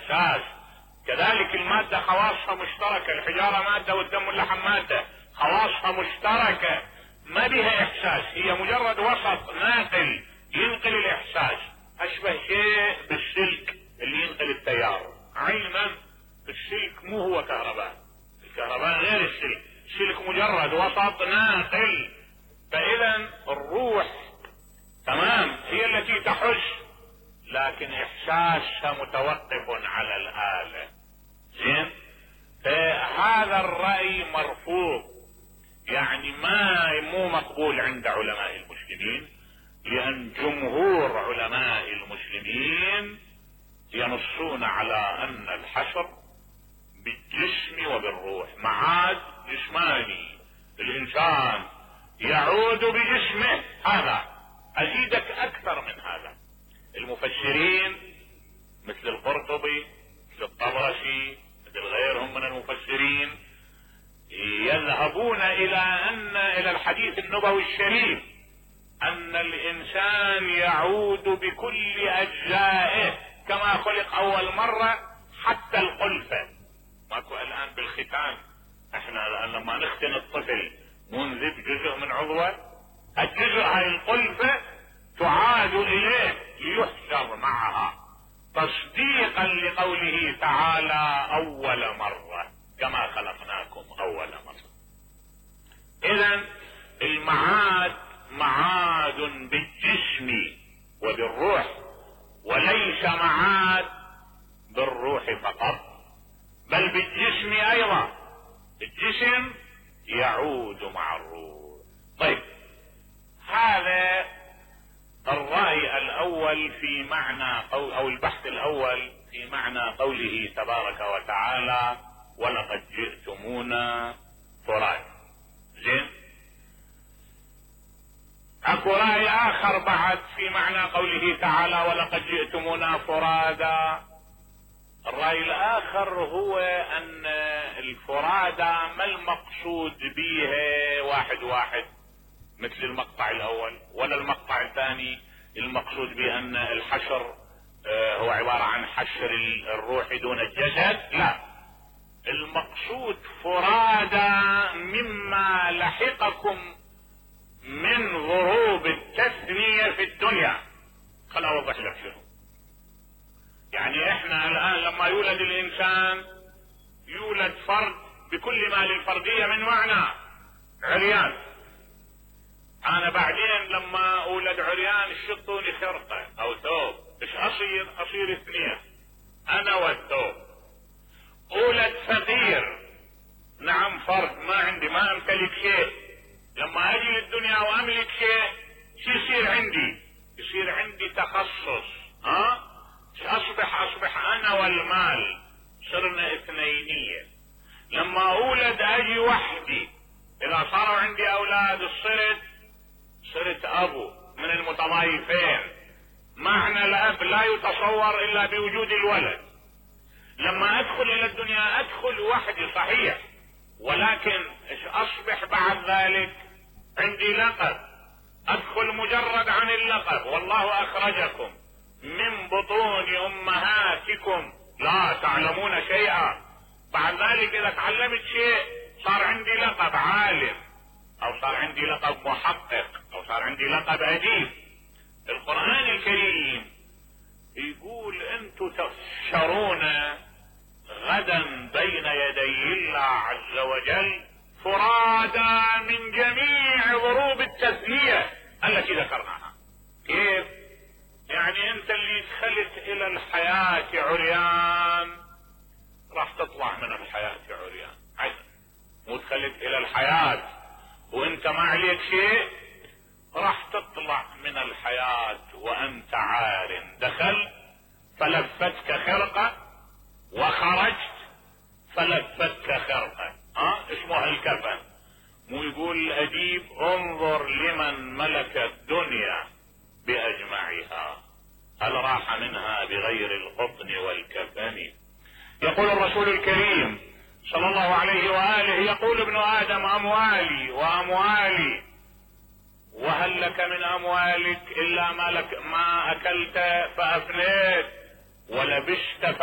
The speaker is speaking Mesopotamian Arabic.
احساس. كذلك المادة خواصها مشتركة، الحجارة مادة والدم واللحم مادة، خواصها مشتركة، ما بها احساس، هي مجرد وسط ناقل ينقل الاحساس. اشبه شيء بالسلك اللي ينقل التيار. علما السلك مو هو كهرباء، الكهرباء غير السلك، السلك مجرد وسط ناقل. فاذا الروح تمام هي التي تحس، لكن احساسها متوقف على الآلة. زين؟ فهذا الرأي مرفوض، يعني مو مقبول عند علماء المسلمين، لأن جمهور علماء المسلمين ينصون على أن الحشر بالجسم وبالروح، معاد جسماني، الإنسان يعود بجسمه. هذا أزيدك أكثر من هذا. المفسرين مثل القرطبي مثل الطبرسي مثل غيرهم من المفسرين يذهبون الى الحديث النبوي الشريف ان الانسان يعود بكل اجزائه كما خلق اول مرة، حتى الخلفة. ماكو الان بالختان، احنا الان لما نختن الطفل ننذب جزء من عضوه، الجزء هاي الخلفة تعاد اليه ليحشر معها تصديقا لقوله تعالى اول مرة كما خلقناكم اول مرة. اذا المعاد معاد بالجسم وبالروح، وليس معاد بالروح فقط بل بالجسم ايضا، الجسم يعود مع الروح. طيب هذا الرأي الاول في معنى او البحث الاول في معنى قوله تبارك وتعالى ولقد جئتمونا فرادى. زين؟ اكو رأي اخر بعد في معنى قوله تعالى ولقد جئتمونا فرادى. الرأي الاخر هو ان الفرادى ما المقصود بها واحد واحد مثل المقطع الاول ولا المقطع الثاني، المقصود بان الحشر هو عبارة عن حشر الروح دون الجسد، لا، المقصود فرادى مما لحقكم من ضروب التثنية في الدنيا. خل اوضح لك شنو يعني. احنا الان لما يولد الانسان يولد فرد بكل ما للفردية من معنى، عريان. انا بعدين لما اولد عريان شطوني خرقة او ثوب، ايش اصير اثنين، انا والثوب. اولد فقير، نعم فرد، ما عندي، ما امتلك شيء. لما اجي للدنيا واملك شيء، شو يصير عندي؟ يصير عندي تخصص. اصبح انا والمال، صرنا اثنينية. لما اولد اجي وحدي، اذا صاروا عندي اولاد صرت ابو من المتضايفين. معنى الاب لا يتصور الا بوجود الولد. لما ادخل الى الدنيا ادخل وحدي صحيح، ولكن اصبح بعد ذلك عندي لقب، ادخل مجرد عن اللقب. والله اخرجكم من بطون امهاتكم لا تعلمون شيئا. بعد ذلك اذا تعلمت شيء صار عندي لقب عالم، او صار عندي لقب محقق، او صار عندي لقب اديب. القرآن الكريم يقول انتم تحشرون غدا بين يدي الله عز وجل فرادى من جميع ضروب التثنية التي ذكرناها. كيف؟ يعني انت اللي دخلت الى الحياة عريان راح تطلع من الحياة عريان، مو دخلت الى الحياة وانت ما عليك شيء، راح تطلع من الحياة وانت عار. دخلت فلفتك خرقة وخرجت فلفتك خرقة، اسمها الكفن. مو يقول الاديب انظر لمن ملك الدنيا باجمعها هل راح منها بغير القطن والكفن. يقول الرسول الكريم صلى الله عليه وآله، يقول ابن آدم أموالي وأموالي، وهل لك من أموالك إلا ما أكلت فأفنيت ولبست